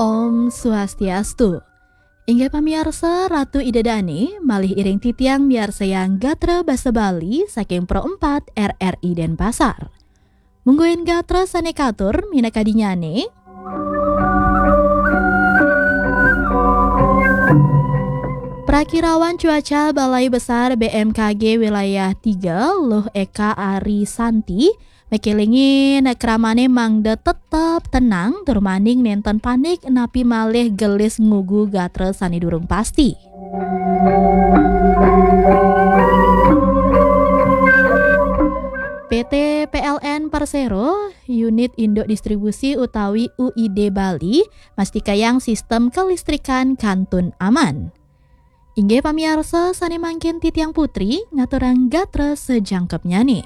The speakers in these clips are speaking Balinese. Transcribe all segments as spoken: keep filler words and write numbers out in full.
Om Swastiastu. Inggih pamiarsa, Ratu Ida Dane malih iring titiang miarsayang gatra basa Bali saking Pro empat R R I Denpasar. Mungguing gatra sane katur minakadinyane. Prakirawan cuaca Balai Besar B M K G Wilayah tiga, Luh Eka Ari Santi, mekelingin kramane mangda tetep tenang, tur maning nenten panik, napi malih gelis ngugu gatra sane durung pasti. P T P L N Persero, Unit Induk Distribusi utawi U I D Bali, mastikayang sistem kelistrikan kantun aman. Inggih pamiarsa, sane mangkin titiang Putri ngaturang gatra sajangkepnyane.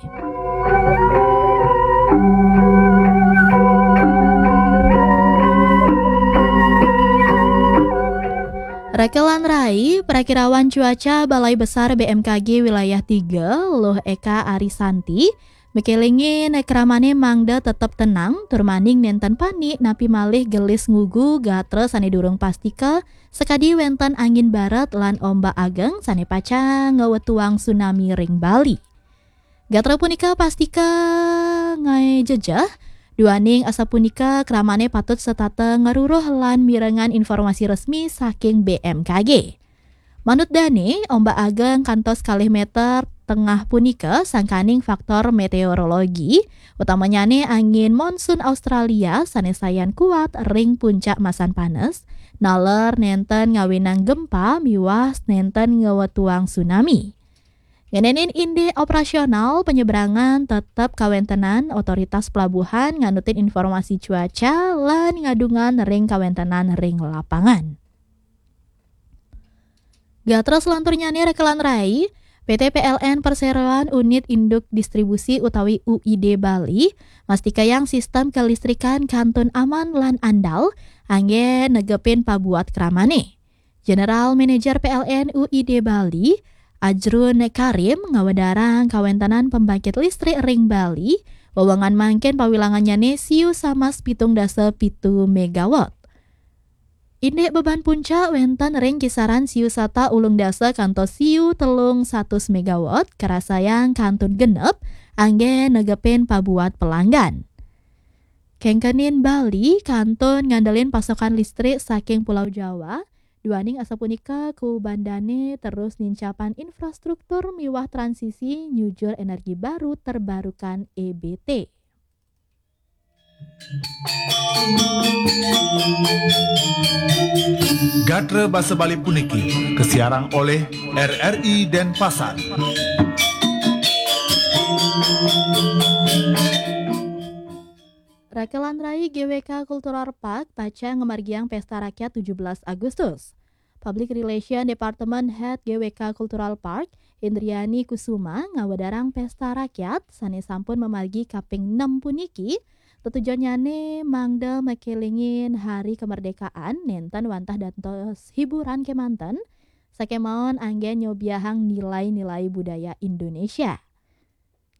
Rekelan rai, Prakirawan Cuaca Balai Besar B M K G Wilayah tiga, Luh Eka Arisanti, mekelingin kramane mangda tetep tenang, tur maning nenten panik, napi malih gelis ngugu gatra sane durung pastika, sakadi wenten angin barat lan ombak ageng sane pacang ngwetuang tsunami ring Bali. Gatra punika pastika ngae jejeh, duaning asapunika kramane patut setata ngaruruh lan mirengang informasi resmi saking B M K G. Manut dane, ombak ageng kantos kalih meter tengah punika sangkaning faktor meteorologi, utamanyane angin monsun Australia sane sayan kuat ring puncak masan panes, naler nenten ngawinang gempa miwah nenten ngwetuang tsunami. Ngenenin indik operasional penyeberangan tetep kawentenan otoritas pelabuhan nganutin informasi cuaca lan ngadungan ring kawentenan ring lapangan. Gatra selanturnyane rekelan rai, P T P L N Perseroan Unit Induk Distribusi utawi U I D Bali, mastikayang sistem kelistrikan kantun aman lan andal, anggen negepin pabuat kramane. General Manager P L N U I D Bali, Ajrun Karim, ngawedarang kawentenan pembangkit listrik ring Bali, wewengan mangkin pawilangannyane siu samas pitung dasa pitu megawatt. Indik beban puncak wenten ring kisaran siu sata ulung dasa kantos siu telung satus megawatt, karasayang kantun genep, anggen negepin pabuat pelanggan. Kengkenin Bali kantun ngandelin pasokan listrik saking Pulau Jawa, duaning asapunika kubandane terus nincapan infrastruktur miwah transisi nyujur energi baru terbarukan E B T. Gatra basa Bali puniki kasiarang olih R R I Denpasar. Rekelan rai G W K Cultural Park pacang ngamargiang Pesta Rakyat tujuh belas Agustus. Public Relation Department Head G W K Cultural Park, Indriani Kusuma, ngawedarang Pesta Rakyat sane sampun mamargi kaping enam puniki, tetujonnyane mangda makelingin Hari Kemerdekaan nenten wantah dados hiburan kemanten, sakemaon anggen nyobiahang nilai-nilai budaya Indonesia.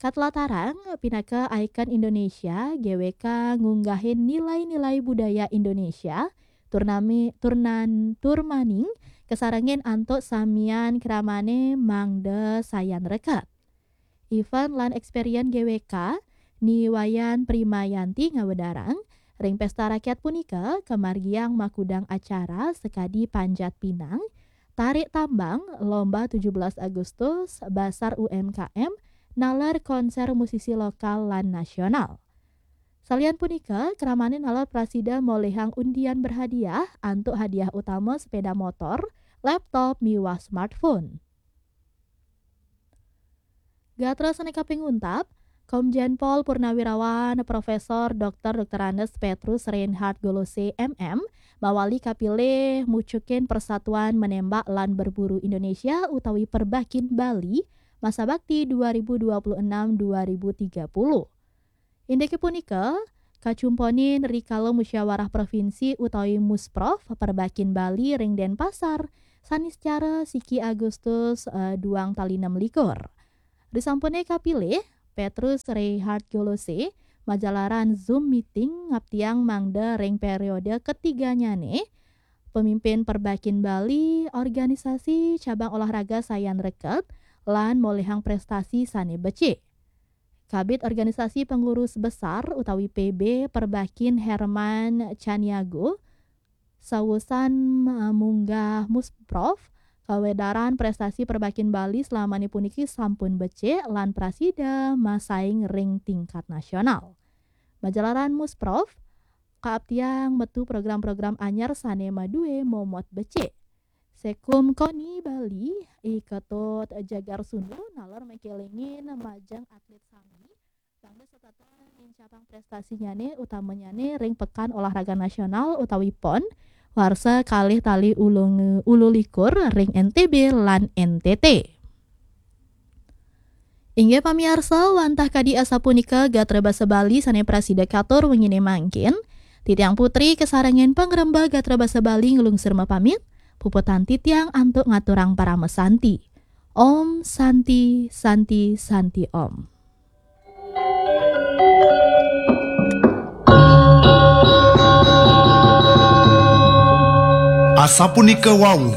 Katlatarang, pinaka ikon Indonesia, G W K ngunggahin nilai-nilai budaya Indonesia, turnami, turnan, turmaning, kasarengin antuk samian kramane mangda sayan reket. Event lan experience G W K, Ni Wayan Primayanti ngawedarang, ring Pesta Rakyat punika kamargiang makudang acara sakadi panjat pinang, tarik tambang, lomba tujuh belas Agustus, basar U M K M, naler konser musisi lokal lan nasional. Salian punika, kramane naler prasida molihang undian berhadiah antuk hadiah utama sepeda motor, laptop, miwah smartphone. Gatra sane kaping untat, Komjen Pol Purnawirawan Profesor Doktor Doktor Andes Petrus Reinhard Golose, M M, mawali kapilih mucukin Persatuan Menembak lan Berburu Indonesia utawi Perbakin Bali, masa bakti dua ribu dua puluh enam dua ribu tiga puluh. Indike punika, kacumponin rikala musyawarah provinsi utawi Musprov Perbakin Bali ring Denpasar, sanicara siki Agustus, eh, duang tali enam likur. Risampune kapilih, Petrus Reinhard Golose Majalaran Zoom meeting ngaptiang mangda ring periode ketiganyane, pemimpin Perbakin Bali, organisasi cabang olahraga sayan reket, lan molihang prestasi sane becik. Kabid Organisasi Pengurus Besar utawi P B Perbakin Herman Caniago, sawusan, eh, munggah Musprov, kawedaran prestasi Perbakin Bali selamane puniki sampun becik lan prasida masaing ring tingkat nasional. Majalaran Musprov, kaaptiang metu program-program anyar sane madue momot becik. Sekum Koni Bali, I Ketut Jagar Sundu, naler makelingin majeng atlet sami, mangda setata nincapang prestasinyane utamanyane ring Pekan Olahraga Nasional utawi pon, warsa kalih tali ulung-, ulu likur ring N T B lan N T T. Inggih pamiarsa, wantah kadi asapunika gatra basa Bali sane prasida katur wengine mangkin. Titiang Putri kasarengin pangrembag gatra basa Bali nglungsur mapamit, puputang titiang antuk ngaturang parama santi. Om Santi, Santi, Santi Om. Asapunika wau,